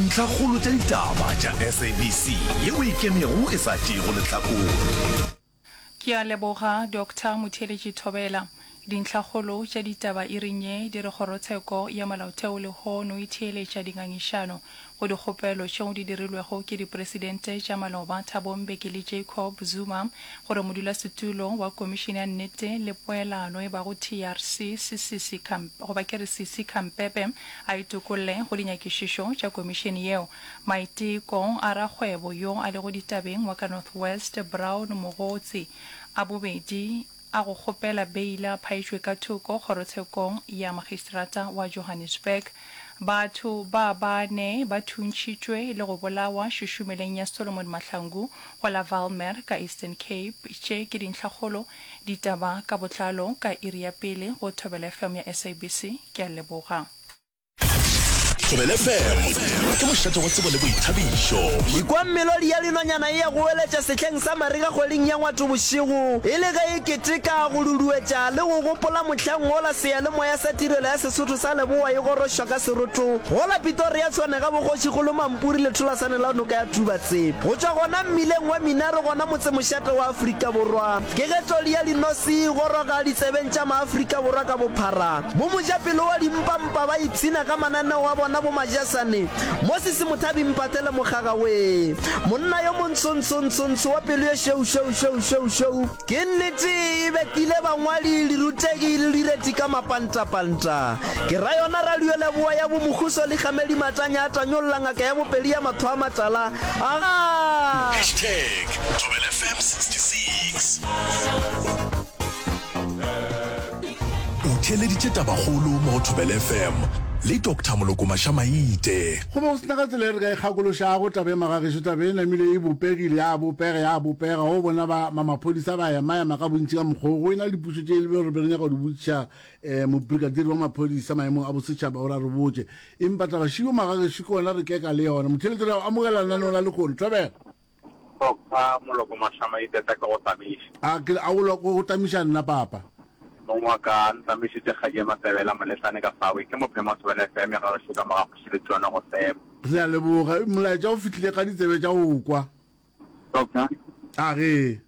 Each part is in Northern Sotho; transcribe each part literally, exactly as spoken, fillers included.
Ntlhakgolo tša ditaba tša SABC yeo e ikemego e sa tšeego lehlakore. Ke a leboga Doctor Motheeletši Thobela. Dintlhakgolo tša ditaba iring ye di re Kgorotsheko ya Molaotheo lehono e theeletša dingangišano go dikgopelo tšeo di dirilwego ke dipresidente tša maloba Thabo Mbeki le Jacob Zuma gore modulasetulo wa Komišene ya Nnete le Poelano e bago TRC Sisisi goba ke re Sisi Khampepe a itokolle go dinyakišišo tša komišene yeo. Maiteko a rakgwebo yo a lego ditabeng wa ka North West Brown Mogotsi a bobedi a go kgopela beile a phaetšwe ka thoko kgorotshekong ya magistrata wa Johannesburg. Batho ba bane ba thuntšhitšwe le go bolawa šušumeleng ya Solomon Mahlangu go la Valmer ka Eastern Cape. Tše ke dintlhakgolo ditaba ka botlalo ka iri ya pele go Thobela FM ya SABC. Ke a leboga. Thobela FM ke mošate wa tsebo le boithabišo. Ikwa melodi ya dinonyana e a goeletša sehleng sa marega kgweding ya Ngwatobošego, e le ge e keteka go duduetša le go gopola mohlang wola seyalemoya sa Tirelo ya Sesotho sa Leboa e gorošwa ka seroto gola Pitoria Tshwane ga boKgošikgolo Mampuri letholasane la noka ya Tubatse. Go tšwa gona mmileng wa Minaro gona motsemošate wa Afrika Borwa, ke ge todi ya dinose e goroga ditsebeng tša Maafrika Borwa ka bophara. Bo mojapelo wa dimpampa ba ipshina ka mananeo a bona bo majasane. Moses Mothabi Mpatele Mokgaga wee. Monna yo montsho-ntsho-ntsho-ntsho wa pelo ye šweu-šweu-šweu-šweu-šweu. Ke nnete e betile bangwadi, dirutegi le direti ka mapantapanta. Ke ra yona radioleboa ya bo Mokhuso Likgamedi Matanya a tanyolla ngaka ya bopedi ya mahlo a matala. Agaa! Hashtag Thobela F M sixty six. O theeleditše Tabakgolo mo go Thobela F M le Doctor Moloko Mašamaite. Go be go se na ka tsela e re ka e kgakološago taba e magagešo. Taba e namile e bopegile, ya bopega, ya bopega. Go bona ba ma maphodisa ba ema-ema ka bontši ka mokgwa wo, go e na le dipušo tše e le re be re nyaka go di botšiša um mobrigadier wa maphodisa maemong a bosetšhaba gore a re botše. Empa taba šibo magagešo ke gona re keka le yona. Motheeletši, re a go amogela lenaneong la lehono. Thobela. Doctor Moloko Mašamaite tla ke go tamiša. A ke a go go tamiša nna papa. Mong wa ka ntamišitše kgadi ya Matebela Moletlane ka fawe ke mophema wa Thobela F M ya gagešo ka mo ga Kgoši Letšona go Sebo. Re a leboga. Molaetša o fihlile ka ditsebe tša go kwa. Doctor. A ge.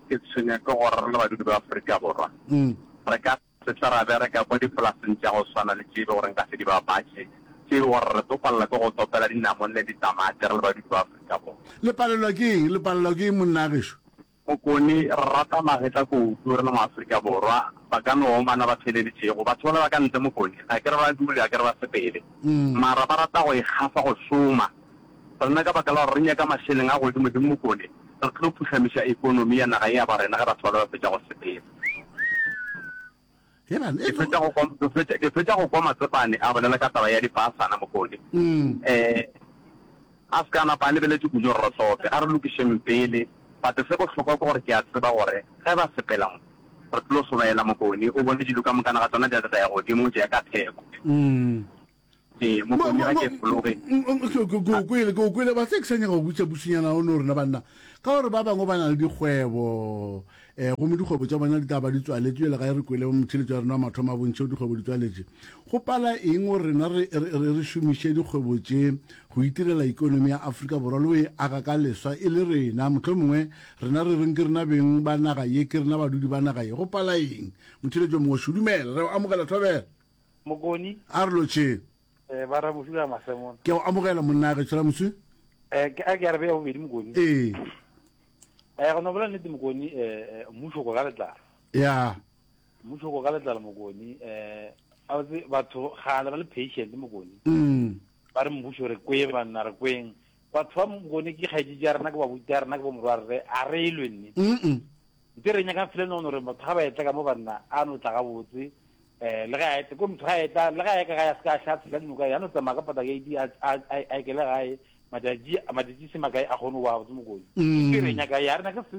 Ke tshwenya ke gore re le badudi ba Afrika Borwa re ka se tle ra bereka kwa dipolaseng tša go swana le tše e be gore nka se di bapatše, tše e be gore re tlo palela ke go topela dinamone le ditamati re le badudi ba Afrika Borwa. Le palelwa ke eng? Le palelwa ke eng monna gešo? Mokone, re rata magetla kudu re le mo Afrika Borwa. Ba ka no omana ba theeleditšego. Batho bale ba ka ntle Mokone, ga ke re ba dule, ga ke re ba sepele. Mara ba rata go ikgafa go šoma. Rena ka baka la gore re nyaka mašeleng a godimodimo Mokone, re tlo phuhlamiša ekonomi ya naga ya ba rena ge batho bale ba fetša go sepela. Ke fetša go kwa, ke fetša, ke fetša go kwa Matsepane a bolela ka taba ya dipasana Mokone. Eh, a se ka napa a lebeletše kudu gore re hlope. A re lokišeng pele. But se bohlokwa ke gore ke a tseba gore ge ba sepela mo, re tlo sobaela Mokone. O bone dilo ka mokana ga tsona di a tla ya godimo tša ya ka theko. Ee, Mokone ga ke fologe. Ke o kwele, ke o kwele. Ba se ke sa nyaka go botša bušinyana o no rena banna. Ka gore ba bangwe ba na le dikgwebo, um gomme dikgwebo tša bona di tla ba di tswaletše. Bjale ga e re kwele motheeletši wa rena wa mathomo a bontšhe dikgwebo di tswaletše. Go pala eng gore rena re, re, re, re šomiše dikgwebo tše go itirela ikonomi ya Afrika Borwa le go e aga ka leswa e le rena? Mohlomongwe rena re reng ke rena beng ba naga ye, ke rena badudi ba naga ye. Go pala eng? Motheeletši o mongwe, Šudumela, re o amogela Thobela. Mokoni. A re lotšheng. Eh, ba Ramosu ka Masemona. Ke a o amogela monna gešo Ramosu. Eh, ke a ke arabe ya bobedi Mokoni. Ee. Eh, go no bolela nnete Mokoni, eh, eh, mmušo ko ka letlalo. Ya. Mmušo ko ka letlalo Mokoni, eh, a botse batho gale ba le patient Mokoni. Mm. Ba re mmušo re kweng banna re kweng. Batho ba Mokoni ke kgaetšedi ya rena ke babuti ya rena ke bomorwarre, a re lwe nne. Mm. Nte re nyaka fela no gore batho ga ba etla ka mo banna a no tla gabotse. Eh, le ga a etla ko motho ga a etla le ga a ya ka gae a se ka a hlatshela dinoka ya no tsamaya ka pata gate a a a ekele gae matšatši matšatši se makae a kgone go ba gabotse Mokoni. Ke re nyaka ya rena ke se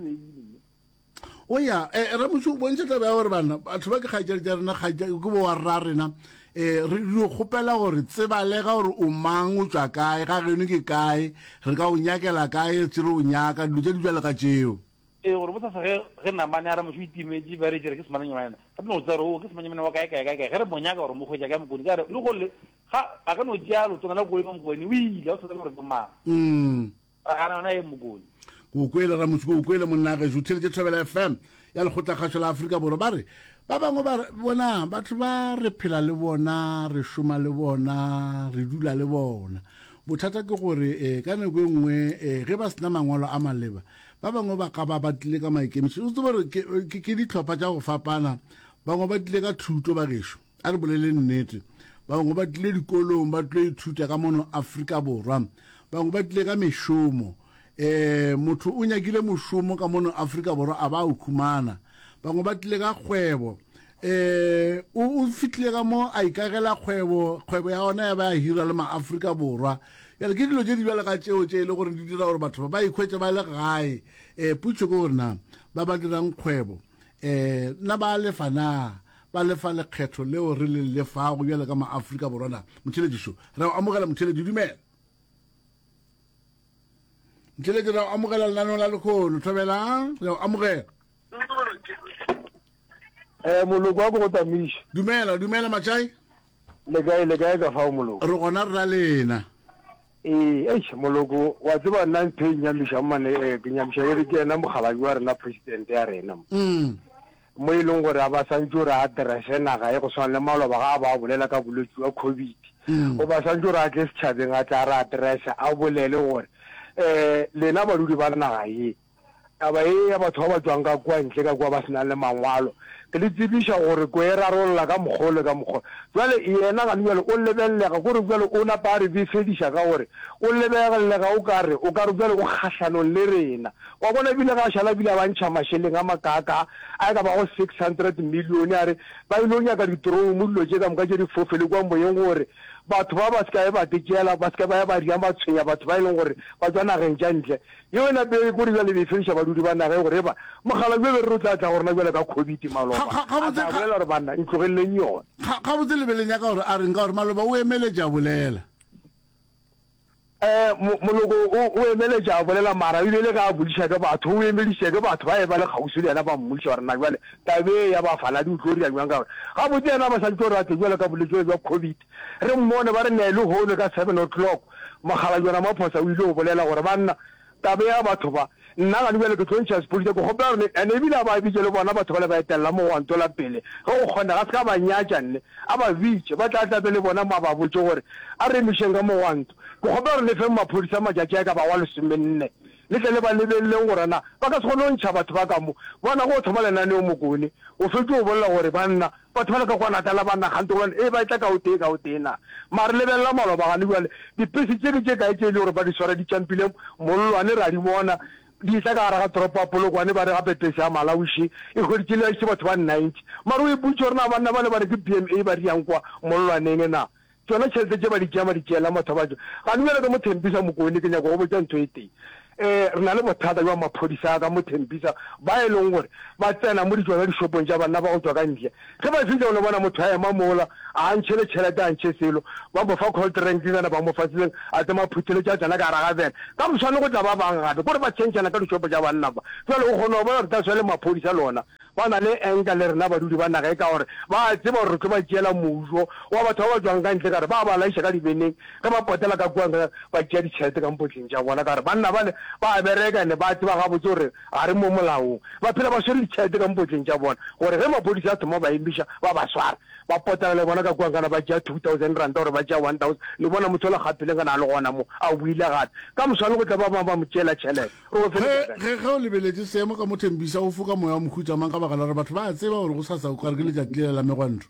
O ya eh, Ramosu o bontšha taba ya gore bana batho ba ke kgaetšadi tša rena kgaetša ke bo wa rra rena eh re dio kgopela gore tsebalega gore o mang o tšwa kae ga geno ke kae re ka o nyakela kae tse re o nyaka dilo tše di bjalo ka tšeo. Ee, gore bosasa ge, ge namane a re motho o itimetše, ba re tšere ke semanyamane, re no tseba gore o ke semanyamane wa kae, kae, kae, kae. Ge re mo nyaka gore mo hwetša kae Mokone, ka re le go le, ga, a ka no tšea leotwana la koloi ka Mokone, o ile, ga o sa tsebe gore ke mang. Mm. Ra gana yona ye Mokone. Ke o kwele, Ramotse, ke o kwele, monna gešo. O theeletše Thobela F M ya Lekgotlakgašo la Afrika Borwa. Ba re, ba bangwe ba re, bona, batho ba re phela le bona, re šoma le bona, re dula le bona. Bothata ke gore eh, ka nako e nngwe eh, ge ba sena mangwalo a maleba, ba bangwe ba ka ba ba tlile ka maikemišetšo. O tsebe gore ke, ke, ke dihlopha tša go fapana. Bangwe ba tlile ka thuto, ba gešo. A re boleleng nnete. Bangwe ba tlile dikolong, ba tlo ithuta ka mono Afrika Borwa. Bangwe ba tlile ka mešomo. Eh, motho o nyakile mošomo ka mono Afrika Borwa a ba a o khumana. Bangwe ba tlile ka kgwebo. Eh, o, o fihlile ka mo a ikagela kgwebo, kgwebo ya ona ya ba ya hira le ma-Afrika Borwa. Bjale ke dilo tše di bjalo ka tšeo tše e le gore di dira gore batho ba ba ikhwetše ba le gae. Eh, potšo ke gore na ba ba dirang kgwebo, eh, na ba lefa na? Ba lefa lekgetho leo re le lefago bjalo ka ma-Afrika Borwa na? Motheeletši šo, re a o amogela motheeletši, dumela. Motheeletši, re a o amogela lenaneong la lekhono. Thobela, re a o amogela. Eh, moloko wa ko go tamiša. Dumela, dumela Matšai. Le kae, le kae ka fao moloko? Re gona re ra lena. Ee, eish, moloko, wa tseba nna ntho e nnyamišang mane, eh, ke nyamiša ke re ke yena mokgalabje wa rena, president ya rena mo. Mm. Mo e leng gore a ba santše gore a addresse naga e go swana le maloba ga a ba bolela ka bolwetši bja COVID. Mm. O ba santše gore a tle setšhabeng a tle a re addresse, a bolele gore, eh, lena badudi ba naga ye, Taba ye ya batho ba ba tšwang ka kua ntle ka kua ba se nang le mangwalo, ke le tsebiša gore ko e rarolla ka mokgwa o le ka mokgwa. Bjale yena gane bjale o lebelelega ko re bjale o napa a re befediša ka gore o lebelelega o ka re o ka re bjale o kgahlanong le rena. Wa bona ebile ga a šala ebile a ba ntšha mašeleng a makaakaa a e ka bago six hundred million a re ba ile nyaka ditroumo dilo tše ka moka tše di fofele kua moyeng gore batho ba ba se ka ba tšeela ba se ka ba ya ba ria ba tshwenya batho ba e leng gore ba tšwa nageng tša ntle. Yeo e nape e kore bjale be e fediša badudi ba naga ye gore eba mokgalabje be re re o tla tla go rena bjale ka COVID maloba. Ga, ga, A gabotse, tla ga, bolela gore banna ntlogeleleng yona. ga, gabotse le be le nyaka gore a reng ka gore maloba o emeletše a bolela. Eh, mo, moloko o, o emeletše a bolela mara e bile le ge a bodiša ke batho, o emedišitše ke batho ba e ba le kgauswi le yena ba mmodiša gore na bjale taba ye ya bafaladi o tlo dira bjang ka gore gabotse yena ba sa tlo re a tle bjale ka bolwetši bjale bja COVID. Re mmone ba re nee lehono ka seven o'clock Mokgalabje Ramaphosa o ile go bolela gore, Banna, taba ya batho ba, nna gane bjale ke tlo ntšha sepodisa, ke kgopela gore le, and ebile a ba bitše le bona batho bale ba etelela mogwanto la pele, ge go kgonega, a se ka ba nyatša nne, a ba bitše, ba tla tla be le bona mo a ba botše gore, A re emišeng ka mogwanto. Ke kgopela gore le feng maphodisa matšatši a e ka bago a lesomenne, le tle le ba lebeleleng gore na ba ka se kgone go ntšha batho ba ka mo. Bona, ge o thoma lenaneo Mokone, o fetše o bolela gore, Banna, Batho bale ka kwa Natala ba nagante gobane ee ba etla ka o tee ka o tee na. Mare lebelela maloba gane bjale dipese tše ke tše kae tše e le gore ba di swara di tšampile mollwane ra di bona di etla ka gare ga toropo ya Polokwane ba re gape pese ya Malawi še e hweditše le išitše batho ba ninety mare o ipotšiše gore na banna bale ba re ke B M A ba di yang kwa mollwaneng na Tšona tšhelete tše ba di tšea ba di tšeela motho ba tšo. Gane bjale ka mo Thembisa Mokone ke nyaka go botša ntho e tee. Eh, re na le bothata bja maphodisa a ka mo Thembisa ba e leng gore ba tsena mo ditšona dishopong tša banna ba go tšwa ka ntle. Ge ba fihla o no bona motho a ema mola, a a ntšhe le tšhelete a ntšhe selo, ba mo fa cold drink kana ba mo fa se sengwe, a tsema a phutheletše a tsena ka gare ga bene. Ka moswane go tla ba bang gape, kore ba tšhentšhana ka dishopo tša banna ba. Bjale o kgona go bona gore that's why le maphodisa le ona Ba na le enka le rena badudi ba naga e ka gore ba a tseba gore re tlo ba tšeela mojo wa batho ba ba tšwang ka ntle ka gore ba ba laiša ka dibeneng ge ba potela ka kua nka ba tšea ditšhelete ka mpotleng tša bona ka gore banna bale ba a bereka ene ba tseba gabotse gore ga re mo molaong ba phela ba swere ditšhelete ka mpotleng tša bona gore ge maphodisa a thoma ba emiša ba ba swara ba potela le bona ka kua nkana ba tšea two thousand ranta gore ba tšea one thousand le bona motho ola gapeleng kana a le gona mo a boile gape ka moswane go tla ba bangwe ba mo tšeela tšhelete. Ge, ge, ge o lebeletše seemo ka mo Thembisa, o foka moya wa mohuta mang ka baka la gore batho ba a tseba gore gosasa o ka re ke letšatši lela la megwanto?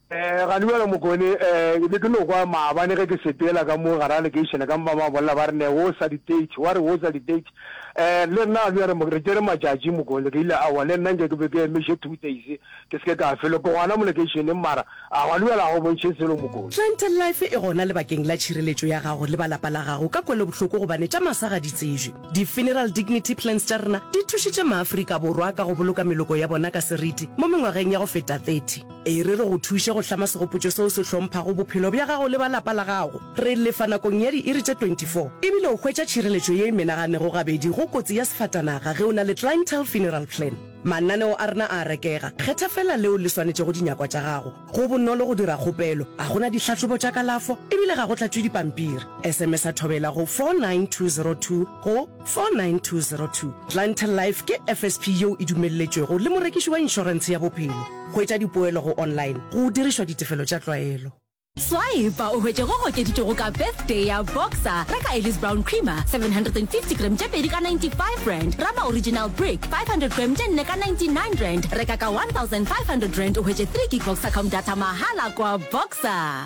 Eh, gane bjale Mokone, eh, ke be ke no kwa maabane ge ke sepela ka mo gare ga lekeišene ka mo ba ba bolela ba re ne wo sa di-date, wa re wo sa di-date. Eh, le nna gane bjale re tšere matšatši Mokone, ke ile aowa le nna nke ke be ke emiše two days ke se ke ka felo, ke gona mo lekeišeneng mara a gane bjale ga go bontšhe selo Mokone. Clientele Life e gona lebakeng la tšhireletšo ya gago le ba lapa la gago ka kwelobohloko gobane tša masa ga di tsebje. Di-Funeral Dignity Plans tša rena di thušitše maAfrika Borwa ka go boloka meloko ya bona ka seriti mo mengwageng ya go feta thirty. E re re go thuše go hlama segopotšo seo se hlomphago bophelo bja gago le ba lapa la gago. Re lefa nakong ya diiri tše twenty four ebile o hwetša tšhireletšo ye e menaganego gabedi go go kotsi ya sefatanaga ge o na le Clientele Funeral Plan. Mananeo a rena a a rekega, kgetha feela leo le swanetšego dinyakwa tša gago. Go bonolo go dira kgopelo, ga go na dihlahlobo tša kalafo ebile ga go tlatšwe dipampiri. S M S-a Thobela go four nine two zero two go four nine two zero two. Clientele Life ke F S P yeo e dumelletšwego le morekiši wa inšorentshe ya bophelo. Hwetša dipoelo go online go dirišwa ditefelo tša tlwaelo. Swipa o hwetše go gokeditšwego ka Birthday ya Boxer. Reka Ellis Brown Creamer seven hundred and fifty gram tše pedi ka ninety five rand, Rama Original Brick five hundred gram tše nne ka ninety nine rand. Reka ka one thousand five hundred rand o hwetše three gig Voxacom data mahala kwa Boxer.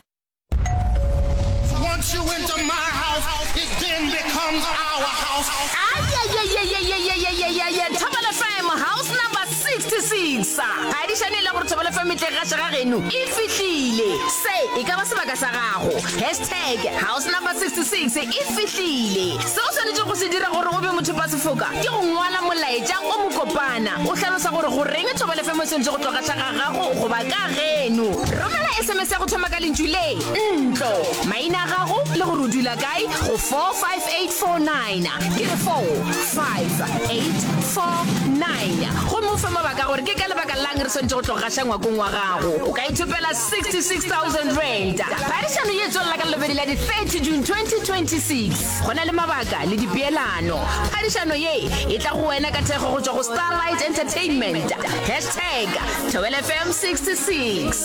Once you enter my house, it then becomes our house. Ayayayayayayayayaya Thobela F M house number sixty six. Phadišano e le gore Thobela F M e tle gaša ga geno e fihlile. Se e ka ba sebaka sa gago. Hashtag house number sixty six e fihlile. Se o swanetše go se dira gore o be mothopa sefoka ke go ngwala molaetša o mokopana o hlalosa gore goreng Thobela F M e swanetše go tlo gaša ga gago goba ka geno. Romela S M S ya go thoma ka lentšu le ntlo, maina a gago le gore o dula kae go four five eight four nine. Ke re four five eight four nine. Gomme o fe mabaka gore ke ka lebaka lang re swanetše go tlo gaša ngwakong wa gago. O ka ithopela sixty six thousand rand. Phadišano ye e tswelela ka Lelobedi la di thirty June twenty twenty six. Go na le mabaka le dipeelano. Phadišano ye e tla go wena ka thekgo go tšwa go Starlight Entertainment. Hashtag Thobela F M sixty six.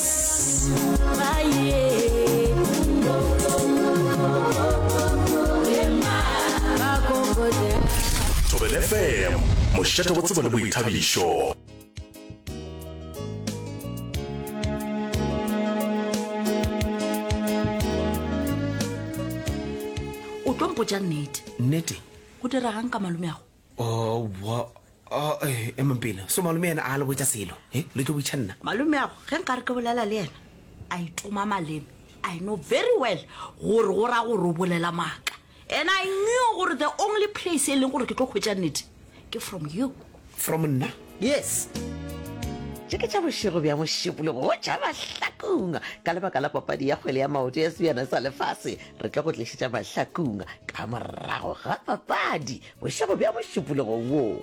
Thobela F M, mošate wa tsebo le boithabišo. O tlo mpotša nnete. Nnete? Go diregang ka malomeago? Oh, wa, oh, eh, emang pele. So malome yena a le botša selo, he? Le tlo botša nna. Malomeago, ge nkare ke bolela le yena, a itoma maleme, I know very well gore go ra gore o bolela maaka. And I knew gore the only place e leng gore ke tlo hwetša nnete ke from you. From nna? Yes. Tše ke tša bošego bja mošupologo go tša Mahlakung. Ka lebaka la papadi ya kgwele ya maoto ya Sebjana sa Lefase, re tlo go tlišetša Mahlakung ka morago ga papadi bošego bja mošupologo wo.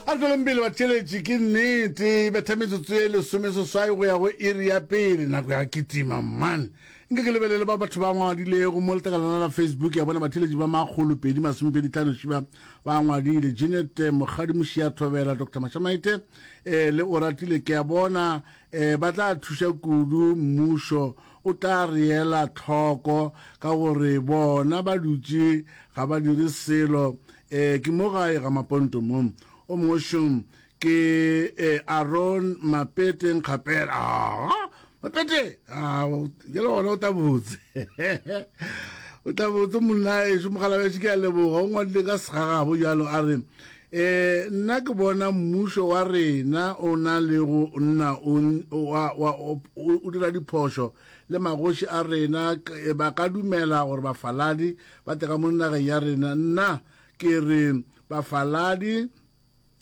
A re tšweleng pele batheeletši, ke nnete e betha metsotso e lesomeseswai go ya go iri ya pele, nako ya kitima man. Nke ke lebelele ba batho ba ngwadilego mo letlakalana la Facebook ya bona batheeletši ba makgolo pedi masomepedi tlhano šiba ba ngwadile. Jeanette Mokgadi Mošia Thobela, Doctor Mashamaite eh, le Oratile ke a bona eh, ba tla thuša kudu, mmušo o tla re ela tlhoko ka gore bona ba dutše ga ba dire selo. Eh, ke mo gae ga Maponto mo. O mongwe šong ke eh, Aaron Mapete Nkgapela. Ah, Mapete, ah, ke le gona o tla botse. O tla botse monna ešo mogala bešo ke a leboga o ngwadile ka segagabo jalo a re eh nna ke bona mmušo wa rena o na le go nna o wa wa o dira diphošo le magoši a rena ba ka dumela gore bafaladi ba tle ka mo nageng ya rena. Nna ke re bafaladi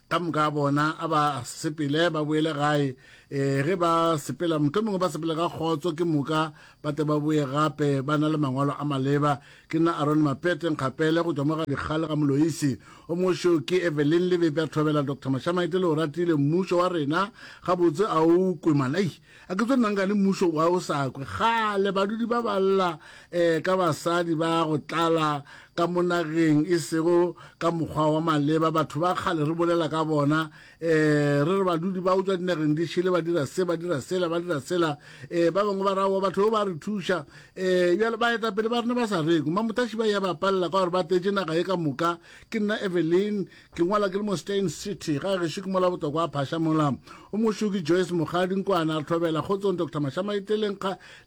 ka moka bona a ba sepele ba boele gae, um ge ba sepela motho mongwe ba sepele ka kgotso ke moka ba tle ba boe gape ba na le mangwalo a maleba. Ke nna Aron Mapete Nkgapele go tswa mo ga Dikgale ga Moloisi. O mošo ke Evelyn Lebepe a Thobela Doctor Mashamaite le o ratile mmušo wa rena gabotse a o kwe man. Ei, a ke tso nna nkane mmušo wa o sa kwe kgale badudi ba ba lla um ka basadi ba go tlala ka mo nageng e sego ka mokgwa wa maleba. Batho ba kgale re bolela ka bona um re re badudi ba utswa dinageng di šele ba dira se ba dira sela ba dira sela, um ba bangwe ba raowa batho ba re thuša um bjale baetapele ba rena ba sa rekwe mamotaši ba ya ba palela ka gore ba tletše naga ye ka moka. Ke nna Evelyn ke ngwala ke le mo Steyn City ga gešo ke mola botokwa a phasha mola. O mošo ke Joyce Mokgadi Nkwana re Thobela kgotsong Doctor Mashamaiteleng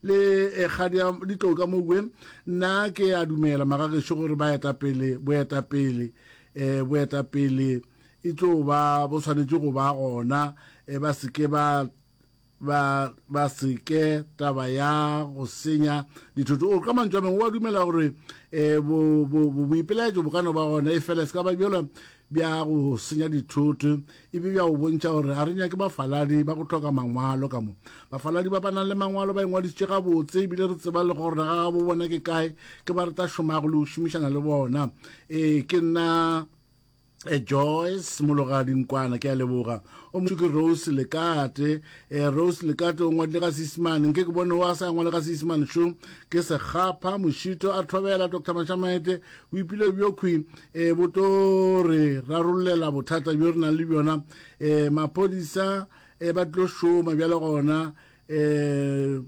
le kgadi ya ditlou ka mowe. Nna ke a dumela magagešo gore baetapele boetapele um boetapele e tlo ba bo swanetše go ba gona, um ba seke ba ba ba seke taba ya go senya dithoto. O ka mantšu a mangwe wa dumela gore um boipelaetšo bo ka no ba gona e fela se ka ba bjalo bja go senya dithoto e be bja go bontšha gore ga re nyake bafaladi ba go hloka mangwalo ka mo. Bafaladi ba ba nang le mangwalo ba ingwadišitše gabotse ebile re tseba le gore ga gabo bona ke kae, ke ba re tla šomago le go šomišana le bona. Ee, ke nna eh, Joyce Mologadi Nkwana, ke a leboga. O mongwe ke Rose Lekate. Eh, Rose Lekate o ngwadile ka Seisemane, nke ke bone o a sa ngwale ka Seisemane šo. Ke Sekgapha Mošito a thobela Doctor Mashamaete boipilo bjo khwi eh, bo tlo re rarollela bothata bjo re nang le bjona. Eh, maphodisa eh, ba tlo šoma bjale gona eh,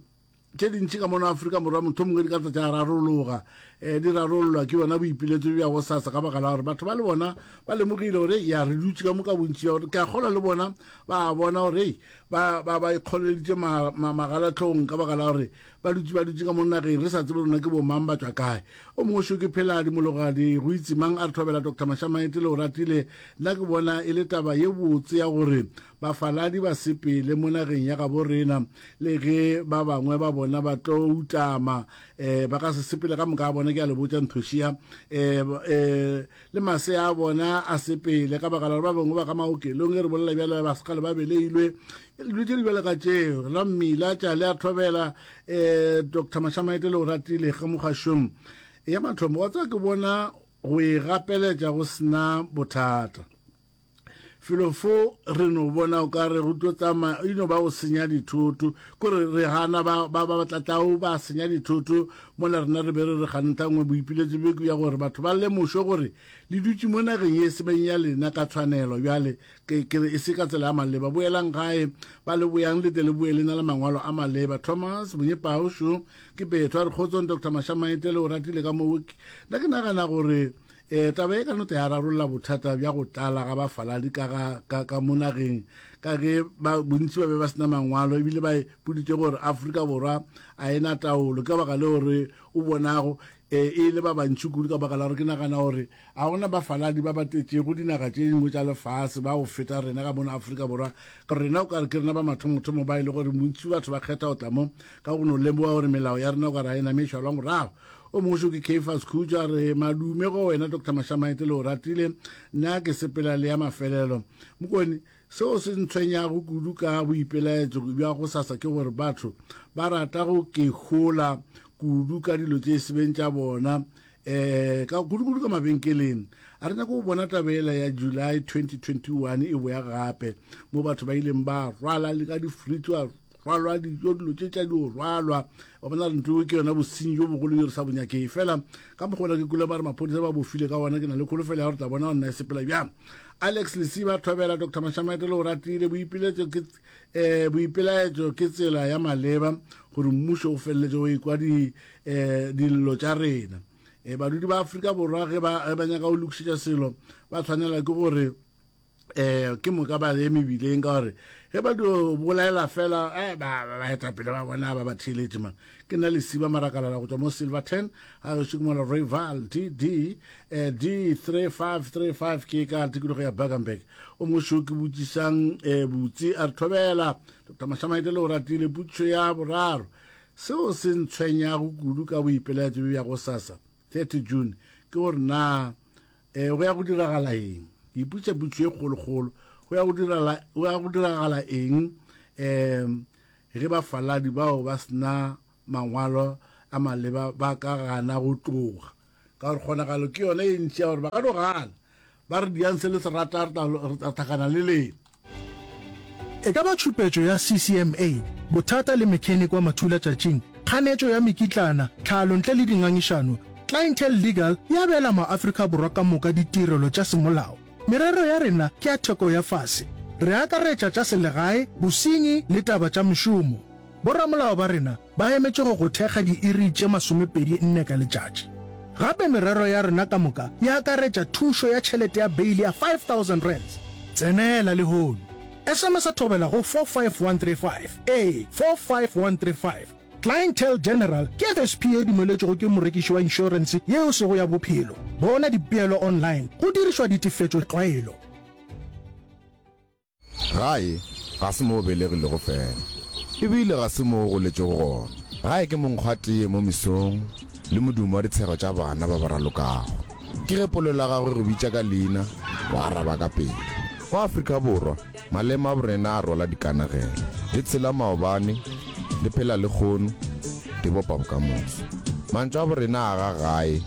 tše dintši ka mono Afrika Borwa mohlomongwe di ka tla tša rarologa, um di rarollwa ke yona boipiletšo bja gosasa, ka baka la gore batho ba le bona ba lemogile gore ya re dutše ka mo ka bontši bja gore ke a kgolwa le bona ba a bona gore ei ba ba ba ikgoleleditše ma, ma, magalatlhong ka baka la gore ba dutše ba dutše ka mo nageng re sa tsebe rona ke bomang ba tšwa kae. O mongwe šo ke Pheladi Mologadi go itse mang a re thobela Doctor Mashamaete le o ratile. Nna ke bona e le taba ye botse ya gore bafaladi ba sepele mo nageng ya gabo rena, le ge ba bangwe ba bona ba tlo utama, um ba ka se sepele ka moka a bona, ke a le botša nthošia, um um le masea a bona a sepele, ka baka la gore ba bangwe ba ka maokelong, ge re bolela bjale ba sekgale ba beleilwe, dilo tše di bjale ka tšeo. La mmila tša le a thobela, um Doctor Mashamaete le o ratile ge mogašong ya mathomo, wa tseba ke bona go e gapeletša go sena bothata. Felo fo re no bona o ka re go tlo tsamaya e no ba go senya dithoto, kore re gana ba ba ba tlatlau ba senya dithoto mola rena re be re re gantha nngwe boipiletšo bjo ke bja gore batho ba lemošwe gore le dutše mo nageng ye sebeng ya lena ka tshwanelo bjale ke ke re e se ka tsela ya maleba boelang gae ba le boyang le tle le boe le na le mangwalo a maleba. Thomas Monyepao šo ke petho a re kgotsong Doctor Mashamaite le o ratile ka moo nna ke nagana gore E, taba e ka no ya rarolla bothata bja go tlala ga bafaladi ka ga ka ka mo nageng, ka ge ba bontši ba be ba sena mangwalo ebile ba ipoditše gore Afrika Borwa a e na taolo. Ke ka baka leo re o bonago e, e le ba bantši kudu, ka baka la gore ke nagana gore ga gona bafaladi ba ba tletšego dinaga tše dingwe tša lefase ba go feta rena ka mono Afrika Borwa. Ka gore rena o ka re ke rena ba mathomothomo ba e le gore bontši batho ba kgetha go tla mo ka go no lemoga gore melao ya rena o ka re ga e name e šalwa morago. O mongwe šo ke Caiphus Khutšo a re, Madume go wena Doctor Mashamaite le o ratile, nna ke sepela le ya mafelelo. Mokone, seo se ntshwenyago kudu ka boipelaetšo bja gosasa ke gore batho ba rata go ke hola kudu ka dilo tše sebeng tša bona, um ka kudu-kudu ka mabenkeleng. A re nyake go bona taba ela ya July twenty twenty one e boya gape, mo batho ba ileng ba rwala le ka di-fridge ba rwalwa dijo, dilo tše tša dio rwalwa. Wa bona re ntho ke yona bosenyi bjo bogolo bjo re sa bo nyakeng. Fela ka mokgwa ona ke kwele ba re maphodisa ba bofile ka wona, ke na le kholofelo ya gore tla bona gore nna e sepela bjang. Alex Lesiba Thobela, Doctor Mashamaite le o ratile, boipiletšo ke eh, boipelaetšo ke tsela ya maleba gore mmušo o feleletše o ekwa di eh, dillo tša rena. Eh, badudi ba Afrika Borwa ge ba ge ba nyaka go lokišetša selo ba tshwanela ke gore eh ke moka ba ye mebileng, ka gore ge ba dio bolaela fela eh, ba baetapele ba bona ba ba theeletše man. Ke nna Lesiba Marakalala go tšwa mo Silverton, ga gešo ke mola Rayval D D eh, D three five three five ke ka tikologo ya Bakenberg. O mongwe šo ke botšišang eh, botsi a re thobela Doctor Mashamaite le o ratile. Potšišo ya boraro, seo se ntshwenyago kudu ka boipelaetšo bjo bja gosasa thirty June ke gore na eh, go ya go diragala eng? Ke ipotšiša potšišo e kgolokgolo, go ya go dirala, go ya go diragala eng um ge bafaladi bao ba sena mangwalo a maleba ba ka gana go tloga? Ka gore kgonagalo ke yona e ntši ya gore ba ka no gana, ba re diang se le se rata, re tla re tla hlakana le lena. E ka ba tšhupetšo ya C C M A, bothata le mechanic wa mathulatšatšing, kganetšo ya mekitlana, tlhalo ntle le dingangišano, Clientele Legal e abela maAfrika Borwa ka moka ditirelo tša semolao. Merero ya rena ke ya theko ya fase. Re akaretša tša selegae, bosenyi le taba tša mešomo. Boramolao ba rena ba emetše go go thekga diiri tše masomepedi nne ka letšatši. Gape merero ya rena ka moka e akaretša thušo ya tšhelete ya beile ya five thousand rands. Tsenela lehono. S M S thobela go four five one three five, ee, four five one three five. Clientele General ke F S P ye dumeletšwego ke morekiši wa inšorense ye e sego ya bophelo. Bona dipeelo online go dirišwa ditefetšo tlwaelo. Gae ga se mo o belegilego fela, e bile ga se mo o goletšego gona. Gae ke monkgwatee mo mesong le modumo wa ditshego tša bana ba ba ralokago. Ke ge polelo ya gago e go bitša ka leina O araba ka pela. Mo Afrika Borwa, maleme a borena a rwala dikanegelo. Di tshela maobane, di phela lehono, di bopa bokamoso. Mantšu a borena a aga gae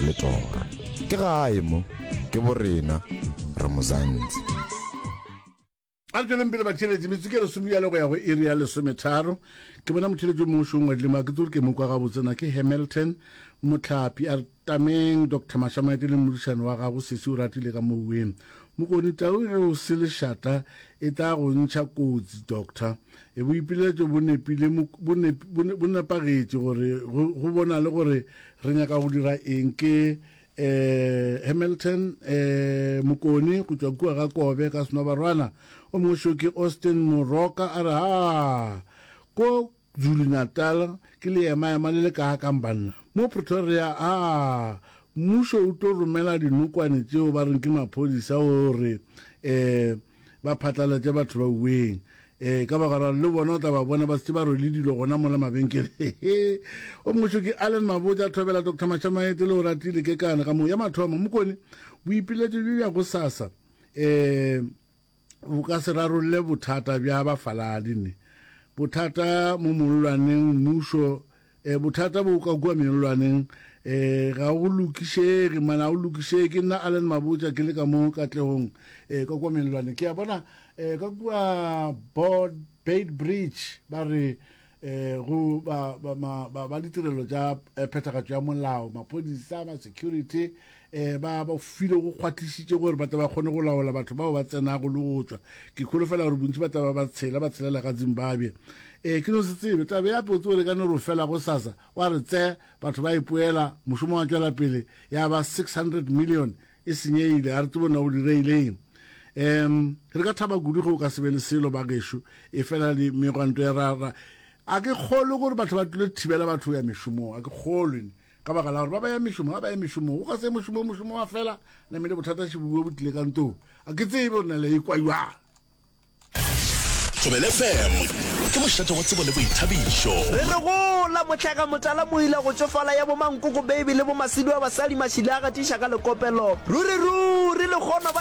le toro. Ke gae mo, ke borena, re Mzansi. A re tšweleng pele batheeletši, metsotso ke lesome bjale go ya go iri ya lesometharo. Ke bona motheeletši o mongwe šo o ngwadile mo, a ke tsebe gore ke mo kwa gabotse na, ke Hamilton Mohlapi. A re tameng Doctor Mashamaite le modišane wa gago sesi o ratile ka mouweng. Mokoni Tau ge o se lešata e tla go ntšha kotsi Doctor. E boipiletšo bo nepile bo nep, bo, bo nepagetše gore go, go bonale gore re nyaka go dira eng ke eh, Hamilton eh, Mokoni go tšwa kua ga Kobe ka Senobarwana. O mongwe šo ke Austin Moroka a re ha ko Zulu Natal ke leemaema le le kaakang banna. Mo Pretoria a mmušo o tlo romela dinokwane tšeo ba reng ke maphodisa gore eh, ba phatlalatše batho ba uweng. Ee, ka baka la gore le bona o tla ba bona ba šetše ba rwele dilo gona mola mabenkeleng. O mongwe šo ke Allen Mabotja, Thobela Doctor Mashamaete le Oratile Kekana ka moo. Ya mathomo, Mokone, boipiletšo bjo bja gosasa um bo ka se rarolle bothata bja bafaladi ne. Bothata mo mollwaneng, mmušo, um bothata bo ka kua mellwaneng um ga go lokišege, man, ga go lokišege. Ke nna Allen Mabotja ke le ka mo Katlehong um ka kua mellwaneng. Ke a bona Eh, ka kua Board Beit Bridge ba re eh, go ba, ba, ma, ba, ba ditirelo tša eh, phethagatšo ya molao, maphodisa, ba security eh, ba ba file go kgwathišitše gore ba tle ba kgone go laola batho bao ba tsenago le go tšwa. Ke kholofela gore bontši ba tla ba ba tshela ba tshelela ka Zimbabwe. Eh, ke no se tsebe taba ya potse gore ka no re fela go sasa wa re tse batho ba ipoela mošomo wa tšwela pele ya ba six hundred million e senyegile, ga re tsebe na go direileng. Um re ka thaba kudu ge o ka se be le selo bagešo, efela le megwanto ya ra, ra a ke kgolwe gore batho ba tlile thibela batho go ya mešomong, a ke kgolwe ka baka la gore ba ba ya mešomong, ga ba ya mešomong, go ka se ye mošomong, mošomo wa fela, namile bothata šibuwe bo tlile ka ntong, a ke tsebe gore na le ikwa jwang. Thobela F M ke mošate wa tsebo le boithabišo. Re re gola, mohlaka motala moila go tšofala ya bomankoko baby le bomasidu a basadi mašila a gatiša ka lekopelo. Ruri ruri lekgono ba.